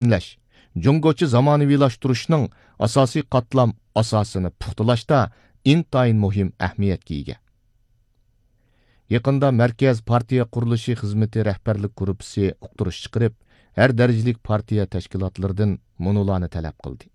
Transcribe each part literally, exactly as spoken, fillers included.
تەمىنلەش، جۇڭگوچە زامانىۋىلاشتۇرۇشنىڭ ئاساسىي قاتلام ئاساسىنى پۇختىلاشتا ئىنتايىن مۇھىم ئەھمىيەتكە ئىگە. يېقىندا مەركەز پارتىيە قۇرۇلۇشى خىزمىتى رەھبەرلىك گۇرۇپپىسى ئۇقتۇرۇش چىقىرىپ، ھەر دەرىجىلىك پارتىيە تەشكىلاتلىرىدىن مۇنۇلارنى تەلەپ قىلدى.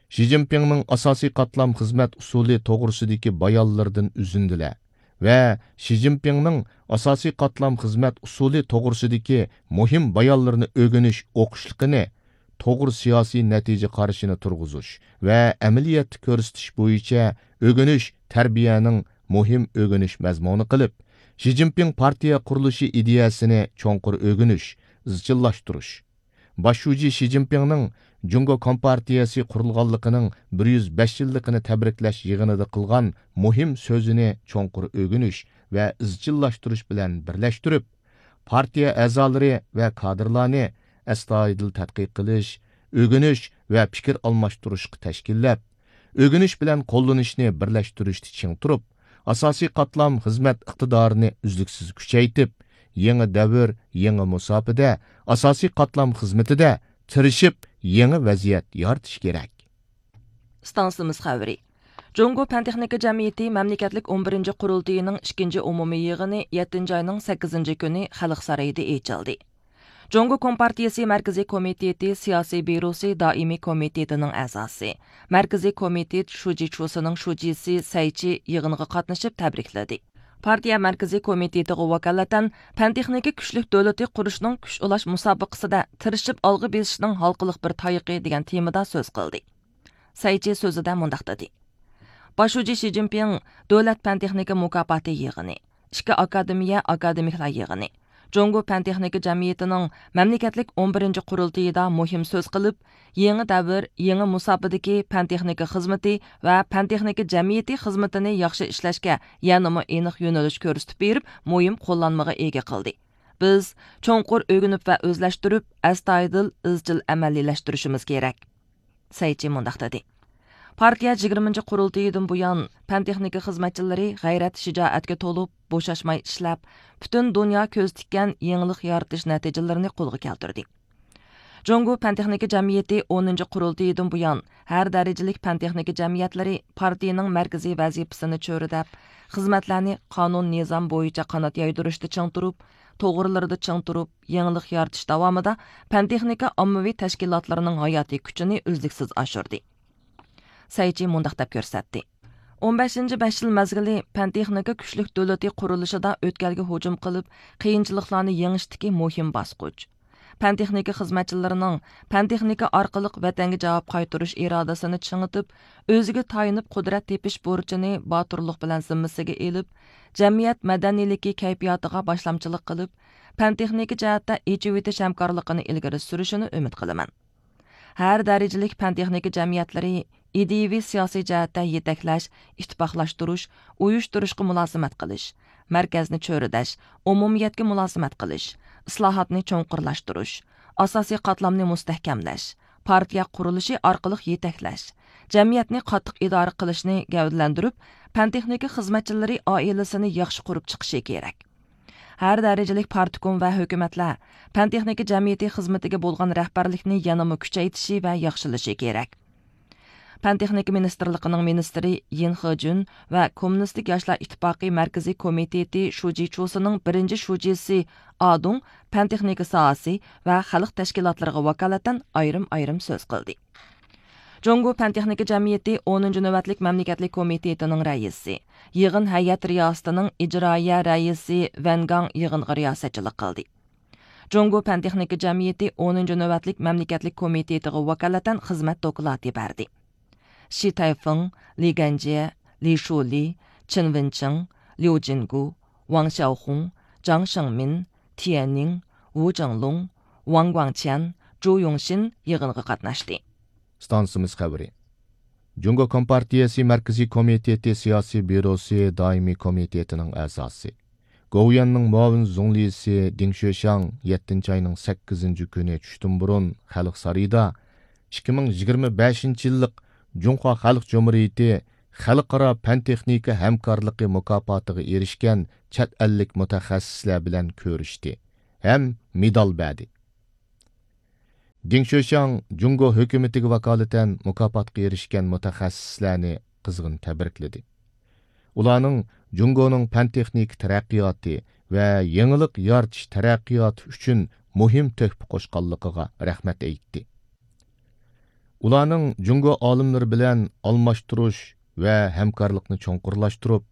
شى جىنپىڭنىڭ ئاساسىي قاتلام خىزمەت ئۇسۇلى توغرىسىدىكى بايانلىرىدىن ئۈزۈندىلەر ۋە شى جىنپىڭنىڭ ئاساسىي قاتلام خىزمەت ئۇسۇلى توغرىسىدىكى مۇھىم بايانلىرىنى ئۆگىنىش ئوقۇشلۇقىنى توغرا سىياسىي نەتىجە قارىشىنى تۇرغۇزۇش ۋە ئەمەلىيەتتە كۆرسىتىش بويىچە ئۆگىنىش تەربىيەنىڭ مۇھىم ئۆگىنىش مەزمۇنى قىلىپ، شى جىنپىڭ پارتىيە قۇرۇلۇشى ئىدىيەسىنى چوڭقۇر ئۆگىنىش، ئىزچىللاشتۇرۇش، باش شۇجى شى جىنپىڭنىڭ جۇڭگو كومپارتىيەسى قۇرۇلغانلىقىنىڭ بىر يۈز بەش يىللىقىنى تەبرىكلەش يىغىنىدا قىلغان مۇھىم سۆزىنى چوڭقۇر ئۆگىنىش ۋە ئىزچىللاشتۇرۇش بىلەن بىرلەشتۈرۈپ، پارتىيە ئەزالىرى ۋە كادىرلارنى ئەستايىدىل تەتقىق قىلىش، ئۆگىنىش ۋە پىكىر ئالماشتۇرۇشقا تەشكىللەپ، ئۆگىنىش بىلەن قوللىنىشنى بىرلەشتۈرۈشتە چىڭ تۇرۇپ، ئاساسىي قاتلام خىزمەت ئىقتىدارىنى ئۈزلۈكسىز كۈچەيتىپ، يېڭى دەۋر، يېڭى مۇساپىدە، ئاساسىي قاتلام خىزمىتىدە تىرىشىپ، يېڭى ۋەزىيەت يارىتىش كېرەك. ئىستانسىمىز خەۋىرى. جۇڭگو پەن تېخنىكا جەمئىيىتى مەملىكەتلىك ئون بىرىنچى قۇرۇلتىيىنىڭ ئىككىنچى ئومۇمىي يىغىنى يەتتىنچى ئاينىڭ سەككىزىنچى كۈنى خەلق سارىيىدا ئېچىلدى. جۇڭگو كومپارتىيىسى مەركىزىي كومىتېتى سىياسىي بيۇروسى دائىمىي كومىتېتىنىڭ ئەزاسى، مەركىزىي كومىتېت شۇجى چۇسىنىڭ شۇجىسى سەي چى يىغىنغا قاتنىشىپ تەبرىكلىدى. پارتىيە مەركىزىي كومىتېتىغا ۋاكالىتەن پەن تېخنىكا كۈچلۈك دۆلىتى قۇرۇشنىڭ كۈچ ئۇلاش مۇسابىقىسىدە تىرىشىپ ئالغا بېسىشنىڭ ھالقىلىق بىر تايىقى دېگەن تېمىدا سۆز قىلدى. سەي چى سۆزىدە مۇنداق دېدى: باش شۇجى شى جىنپىڭ دۆلەت پەن تېخنىكا مۇكاپاتى يىغىنى، ئىككى ئاكادېمىيە ئاكادېمىكلار يىغىنى، جۇڭگو پەن تېخنىكا جەمئىيىتىنىڭ مەملىكەتلىك ئون بىرىنچى قۇرۇلتىيىدا مۇھىم سۆز قىلىپ، يېڭى دەۋر، يېڭى مۇساپىدىكى پەن تېخنىكا خىزمىتى ۋە پەن تېخنىكا جەمئىيىتى خىزمىتىنى ياخشى ئىشلەشكە يەنىمۇ ئېنىق يۆنىلىش كۆرسىتىپ بېرىپ، مۇھىم قوللانمىغا ئىگە قىلدى. بىز چوڭقۇر ئۆگىنىپ ۋە ئۆزلەشتۈرۈپ، ئەستايىدىل، ئىزچىل ئەمەلىيلەشتۈرۈشىمىز كېرەك. سەي چى مۇنداق دېدى: پارتىيە يىگىرمىنچى قۇرۇلتىيىدىن بۇيان، پەن تېخنىكا خىزمەتچىلىرى غەيرەت، شىجائەتكە تولۇپ، بوشاشماي ئىشلەپ، پۈتۈن دۇنيا كۆز تىككەن يېڭىلىق يارىتىش نەتىجىلىرىنى قولغا كەلتۈردى. جۇڭگو پەن تېخنىكا جەمئىيىتى ئونىنچى قۇرۇلتىيىدىن بۇيان، ھەر دەرىجىلىك پەن تېخنىكا جەمئىيەتلىرى پارتىيىنىڭ مەركىزىي ۋەزىپىسىنى چۆرىدەپ، خىزمەتلەرنى قانۇن نىزام بويىچە قانات يايدۇرۇشتا چىڭ تۇرۇپ، توغرىلىرىدا چىڭ تۇرۇپ، يېڭىلىق يارىتىش داۋامىدا پەن تېخنىكا ئاممىۋى تەشكىلاتلىرىنىڭ ھاياتىي كۈچىنى ئۈزلۈكسىز ئاشۇردى. سەي چى مۇنداق دەپ كۆرسەتتى: ئون بەشىنچى بەش يىل مەزگىلى پەن تېخنىكا كۈچلۈك دۆلىتى قۇرۇلۇشىدا ئۆتكەلگە ھۇجۇم قىلىپ، قىيىنچىلىقلارنى يېڭىشتىكى مۇھىم باسقۇچ. پەن تېخنىكا خىزمەتچىلىرىنىڭ پەن تېخنىكا ئارقىلىق ۋەتەنگە جاۋاب قايتۇرۇش ئىرادىسىنى چىڭىتىپ، ئۆزىگە تايىنىپ قۇدرەت تېپىش بۇرچىنى باتۇرلۇق بىلەن زىممىسىگە ئېلىپ، جەمئىيەت مەدەنىيلىكى كەيپىياتىغا باشلامچىلىق قىلىپ، پەن تېخنىكا جەھەتتە ئېچىۋېتىش ھەمكارلىقىنى ئىلگىرى سۈرۈشىنى ئۈمىد قىلىمەن. ھەر دەرىجىلىك پەن تېخنىكا جەمئىيەتلىرى ئىدىيىۋى سىياسىي جەھەتتە يېتەكلەش، ئىتتىپاقلاشتۇرۇش، ئۇيۇشتۇرۇشقا مۇلازىمەت قىلىش، مەركەزنى چۆرىدەش، ئومۇمىيەتكە مۇلازىمەت قىلىش، ئىسلاھاتنى چوڭقۇرلاشتۇرۇش، ئاساسىي قاتلامنى مۇستەھكەملەش، پارتىيە قۇرۇلۇشى ئارقىلىق يېتەكلەش، جەمئىيەتنى قاتتىق ئىدارە قىلىشنى گەۋدىلەندۈرۈپ، پەن تېخنىكا خىزمەتچىلىرى ئائىلىسىنى ياخشى قۇرۇپ چىقىشى كېرەك. ھەر دەرىجىلىك پارتكوم ۋە ھۆكۈمەتلەر پەن تېخنىكا جەمئىيىتى خىزمىتىگە بولغان رەھبەرلىكنى يەنىمۇ كۈچەيتىشى ۋە ياخشىلىشى كېرەك. پەن تېخنىكا مىنىستىرلىقىنىڭ مىنىستىرى يىن خېجۈن ۋە كوممۇنىستىك ياشلار ئىتتىپاقى مەركىزىي كومىتېتى شۇجى چۇسىنىڭ بىرىنچى شۇجىسى ئادۇڭ پەن تېخنىكا ساھەسى ۋە خەلق تەشكىلاتلىرىغا ۋاكالىتەن ئايرىم-ئايرىم سۆز قىلدى. جۇڭگو پەن تېخنىكا جەمئىيىتى ئونىنچى نۆۋەتلىك مەملىكەتلىك كومىتېتىنىڭ رەئىسى، يىغىن ھەيئەت رىياسىتىنىڭ ئىجرائىيە رەئىسى ۋەن گاڭ يىغىنغا رىياسەتچىلىك قىلدى. جۇڭگو پەن تېخنىكا جەمئىيىتى ئونىنچى نۆۋەتلىك مەملىكەتلىك كومىتېتىغا ۋاكالىتەن خىزمەت دوكلاتى بەردى. شى تەيفېڭ، لى گەنجيې، لى شۇلى، چېن ۋېنچىڭ، ليۇ جىنگۇ، ۋاڭ شياۋخۇڭ، جاڭ شېڭمىن، تيەننىڭ، ۋۇ جېڭلۇڭ، ۋاڭ گۇاڭچيەن، جۇ يۇڭشىن يىغىنغا قاتناشتى. ئىستانسىمىز خەۋىرى. جۇڭگو كومپارتىيەسى مەركىزىي كومىتېتى سىياسىي بيۇروسى دائىمىي كومىتېتىنىڭ ئەزاسى، گوۋۇيۈەننىڭ مۇئاۋىن زۇڭلىسى دىڭ شۆشياڭ يەتتىنچى ئاينىڭ سەككىزىنچى كۈنى چۈشتىن بۇرۇن خەلق سارىيىدا ئىككى مىڭ يىگىرمە بەشىنچى يىللىق جۇڭخۇا خەلق جۇمھۇرىيىتى خەلقئارا پەن تېخنىكا ھەمكارلىقى مۇكاپاتىغا ئېرىشكەن چەت ئەللىك مۇتەخەسسىسلەر بىلەن كۆرۈشتى ھەم مېدال بەردى. دېڭ شۆشياڭ جۇڭگو ھۆكۈمىتىگە ۋاكالىتەن مۇكاپاتقا ئېرىشكەن مۇتەخەسسىسلەرنى قىزغىن تەبرىكلىدى. ئۇلارنىڭ جۇڭگونىڭ پەن-تېخنىكا تەرەققىياتى ۋە يېڭىلىق يارىتىش تەرەققىياتى ئۈچۈن مۇھىم تۆھپە قوشقانلىقىغا رەھمەت ئېيتتى. ئۇلارنىڭ جۇڭگو ئالىملىرى بىلەن ئالماشتۇرۇش ۋە ھەمكارلىقنى چوڭقۇرلاشتۇرۇپ،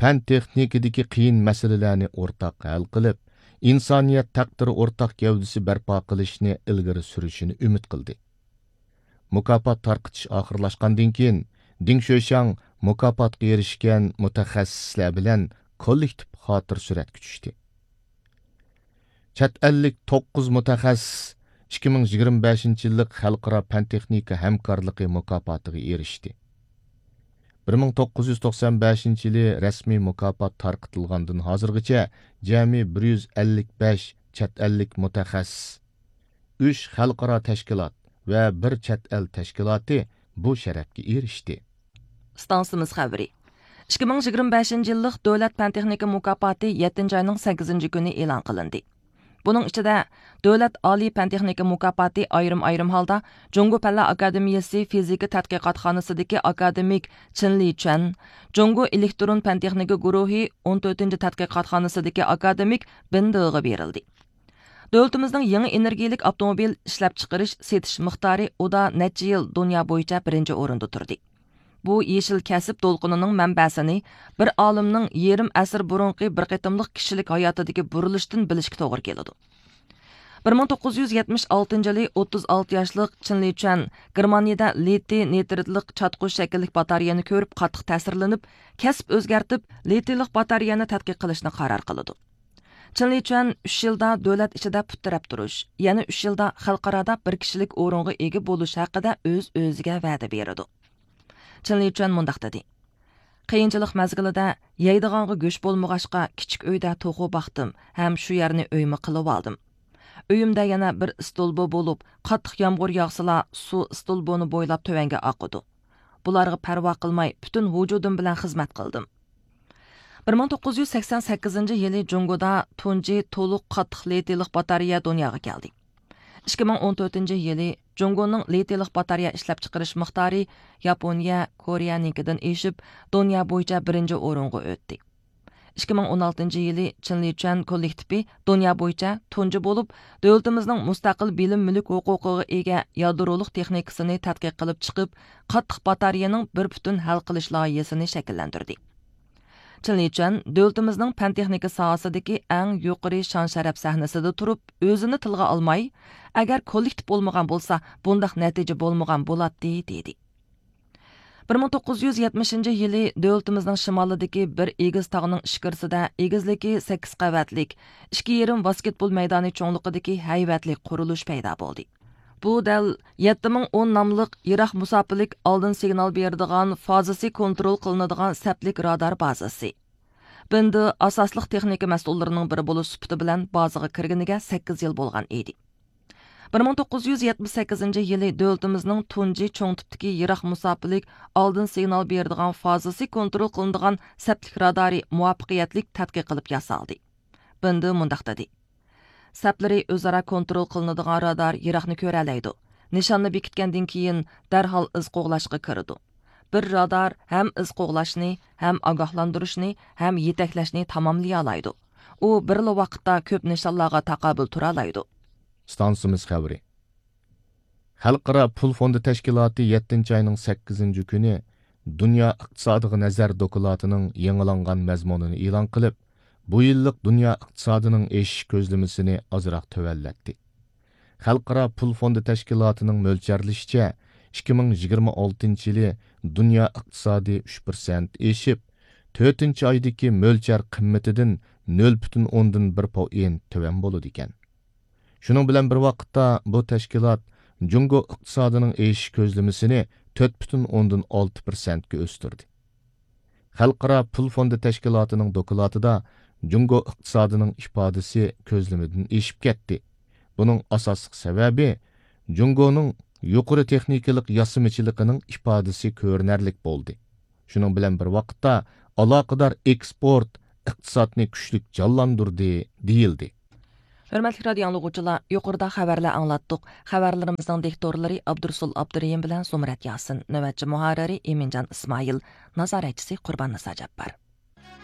پەن-تېخنىكىدىكى قىيىن مەسىلىلەرنى ئورتاق ھەل قىلىپ، ئىنسانىيەت تەقدىرى ئورتاق گەۋدىسى بەرپا قىلىشنى ئىلگىرى سۈرۈشىنى ئۈمىد قىلدى. مۇكاپات تارقىتىش ئاخىرلاشقاندىن كېيىن، دېڭ شۆشياڭ مۇكاپاتقا ئېرىشكەن مۇتەخەسسىسلەر بىلەن كوللېكتىپ خاتىرە سۈرەتكە چۈشتى. چەت ئەللىك توققۇز مۇتەخەسسىس ئىككى مىڭ يىگىرمە بەشىنچى يىللىق خەلقئارا پەن-تېخنىكا ھەمكارلىقى مۇكاپاتىغا ئېرىشتى. بىر مىڭ توققۇز يۈز توقسان بەشىنچى يىلى رەسمىي مۇكاپات تارقىتىلغاندىن ھازىرغىچە جەمئىي بىر يۈز ئەللىك بەش چەت ئەللىك مۇتەخەسسىس، ئۈچ خەلقئارا تەشكىلات ۋە بىر چەت ئەل تەشكىلاتى بۇ شەرەپكە ئېرىشتى. ئىستانسىمىز خەۋىرى. ئىككى مىڭ يىگىرمە بەشىنچى يىللىق دۆلەت پەن-تېخنىكا مۇكاپاتى يەتتىنچى ئاينىڭ سەككىزىنچى كۈنى ئېلان قىلىندى. بۇنىڭ ئىچىدە، دۆلەت ئالىي پەن-تېخنىكا مۇكاپاتى ئايرىم-ئايرىم ھالدا جۇڭگو پەنلەر ئاكادېمىيىسى فىزىكا تەتقىقاتخانىسىدىكى ئاكادېمىك چېن لىچۈەن، جۇڭگو ئېلېكترون پەن-تېخنىكا گۇرۇھى ئون تۆتىنچى تەتقىقاتخانىسىدىكى ئاكادېمىك بىن دېغا بېرىلدى. دۆلىتىمىزنىڭ يېڭى ئېنېرگىيەلىك ئاپتوموبىل ئىشلەپچىقىرىش، سېتىش مىقدارى ئۇدا نەچچە يىل دۇنيا بويىچە بىرىنچى ئورۇندا تۇردى. بۇ يېشىل كەسىپ دولقۇنىنىڭ مەنبەسىنى بىر ئالىمنىڭ يېرىم ئەسىر بۇرۇنقى بىر قېتىملىق كىشىلىك ھاياتىدىكى بۇرۇلۇشتىن بىلىشكە توغرا كېلىدۇ. بىر مىڭ توققۇز يۈز يەتمىش ئالتىنچى يىلى ئوتتۇز ئالتە ياشلىق چېن لىچۈەن گېرمانىيىدە لىتىي نىترىدلىق چاتقۇ شەكىللىك باتارېيەنى كۆرۈپ قاتتىق تەسىرلىنىپ، كەسىپ ئۆزگەرتىپ، لىتىيلىق باتارېيەنى تەتقىق قىلىشنى قارار قىلىدۇ. چېن لىچۈەن ئۈچ يىلدا دۆلەت ئىچىدە پۇت تىرەپ تۇرۇش، يەنە ئۈچ يىلدا خەلقئارادا بىر كىشىلىك ئورۇنغا ئىگە بولۇش ھەققىدە ئۆز-ئۆزىگە ۋەدە بېرىدۇ. چېن لىچۈەن مۇنداق دېدى: «قىيىنچىلىق مەزگىلىدە يەيدىغانغا گۆش بولمىغاچقا، كىچىك ئۆيدە توخۇ باقتىم ھەم شۇ يەرنى ئۆيمۇ قىلىۋالدىم. ئۆيۈمدە يەنە بىر ئىستولبا بولۇپ، قاتتىق يامغۇر ياغسىلا، سۇ ئىستولبىنى بويلاپ تۆۋەنگە ئاقىدۇ. بۇلارغا پەرۋا قىلماي، پۈتۈن ۋۇجۇدۇم بىلەن خىزمەت قىلدىم.» بىر مىڭ توققۇز يۈز سەكسەن سەككىزىنچى يىلى جۇڭگودا تۇنجى تولۇق قاتتىق لىتىيلىق باتارېيە دۇنياغا كەلدى. ئىككى مىڭ ئون تۆتىنچى يىلى جۇڭگونىڭ لىتىيلىق باتارېيە ئىشلەپچىقىرىش مىقدارى ياپونىيە، كورېيەنىڭكىدىن ئېشىپ، دۇنيا بويىچە بىرىنچى ئورۇنغا ئۆتتى. ئىككى مىڭ ئون ئالتىنچى يىلى چېن لىچۈەن كوللېكتىپى دۇنيا بويىچە تۇنجى بولۇپ، دۆلىتىمىزنىڭ مۇستەقىل بىلىم مۈلۈك ھوقۇقىغا ئىگە يادرولۇق تېخنىكىسىنى تەتقىق قىلىپ چىقىپ، قاتتىق باتارېيەنىڭ بىر پۈتۈن ھەل قىلىش لايىھىسىنى شەكىللەندۈردى. چېن لىچۈەن دۆلىتىمىزنىڭ پەن-تېخنىكا ساھەسىدىكى ئەڭ يۇقىرى شان-شەرەپ سەھنىسىدە تۇرۇپ، ئۆزىنى تىلغا ئالماي، ئەگەر كوللېكتىپ بولمىغان بولسا، بۇنداق نەتىجە بولمىغان بولاتتى، دېدى. بىر مىڭ توققۇز يۈز يەتمىشىنچى يىلى دۆلىتىمىزنىڭ شىمالىدىكى بىر ئېگىز تاغنىڭ ئىچكىرىسىدە ئېگىزلىكى سەككىز قەۋەتلىك، ئىككى يېرىم ۋاسكېتبول مەيدانى چوڭلۇقىدىكى ھەيۋەتلىك قۇرۇلۇش پەيدا بولدى. بۇ دەل يەتتە مىڭ ئون ناملىق يىراق مۇساپىلىك ئالدىن سىگنال بېرىدىغان فازىسى كونترول قىلىنىدىغان سەپلىك رادار بازىسى. بىندې ئاساسلىق تېخنىكا مەسئۇللىرىنىڭ بىرى بولۇش سۈپىتى بىلەن بازىغا كىرگىنىگە سەككىز يىل بولغان ئىدى. بىر مىڭ توققۇز يۈز يەتمىش سەككىزىنچى يىلى دۆلىتىمىزنىڭ تۇنجى چوڭ تىپتىكى يىراق مۇساپىلىك ئالدىن سىگنال بېرىدىغان فازىسى كونترول قىلىنىدىغان سەپلىك رادارى مۇۋەپپەقىيەتلىك تەتقىق قىلىپ ياسالدى. بىندې مۇنداق دېدى: سەپلىرى ئۆزئارا كونترول قىلىنىدىغان رادار يىراقنى كۆرەلەيدۇ. نىشاننى بېكىتكەندىن كېيىن دەرھال ئىز قوغلاشقا كىرىدۇ. بىر رادار ھەم ئىز قوغلاشنى، ھەم ئاگاھلاندۇرۇشنى، ھەم يېتەكلەشنى تاماملىيالايدۇ. ئۇ بىرلا ۋاقىتتا كۆپ نىشانلارغا تاقابىل تۇرالايدۇ. ئىستانسىمىز خەۋىرى. خەلقئارا پۇل فوندى تەشكىلاتى يەتتىنچى ئاينىڭ سەككىزىنچى كۈنى دۇنيا ئىقتىسادىغا نەزەر دوكلاتىنىڭ يېڭىلانغان مەزمۇنىنى ئېلان قىلىپ، بۇ يىللىق دۇنيا ئىقتىسادىنىڭ ئېشىش كۆزلىمىسىنى ئازراق تۆۋەنلەتتى. خەلقئارا پۇل فوندى تەشكىلاتىنىڭ مۆلچەرلىشىچە، ئىككى مىڭ يىگىرمە ئالتىنچى يىلى دۇنيا ئىقتىسادى ئۈچ پىرسەنت ئېشىپ، تۆتىنچى ئايدىكى مۆلچەر قىممىتىدىن نۆل پۈتۈن ئوندىن بىر پوئېنت تۆۋەن بولىدىكەن. شۇنىڭ بىلەن بىر ۋاقىتتا، بۇ تەشكىلات جۇڭگو ئىقتىسادىنىڭ ئېشىش كۆزلىمىسىنى تۆت پۈتۈن ئوندىن ئالتە پىرسەنتكە ئۆستۈردى. خەلقئارا پۇل فوندى تەشكىلاتىنىڭ دوكلاتىدا جۇڭگو ئىقتىسادىنىڭ ئىپادىسى كۆزلىمىدىن ئېشىپ كەتتى. بۇنىڭ ئاساسلىق سەۋەبى جۇڭگونىڭ يۇقىرى تېخنىكىلىق ياسىمىچىلىقىنىڭ ئىپادىسى كۆرۈنەرلىك بولدى. شۇنىڭ بىلەن بىر ۋاقىتتا، ئالاقىدار ئېكسپورت ئىقتىسادنى كۈچلۈك جانلاندۇردى، دېيىلدى. ھۆرمەتلىك رادىيو ئاڭلىغۇچىلار، يۇقىرىدا خەۋەرلەر ئاڭلاتتۇق. خەۋەرلىرىمىزنىڭ دىكتورلىرى ئابدۇرسۇل ئابدۇرېھىم بىلەن زۇمرەت ياسىن، نۆۋەتچى مۇھەررىرى ئىمىنجان ئىسمائىل، نازارەتچىسى قۇربان نىسا جاپپار.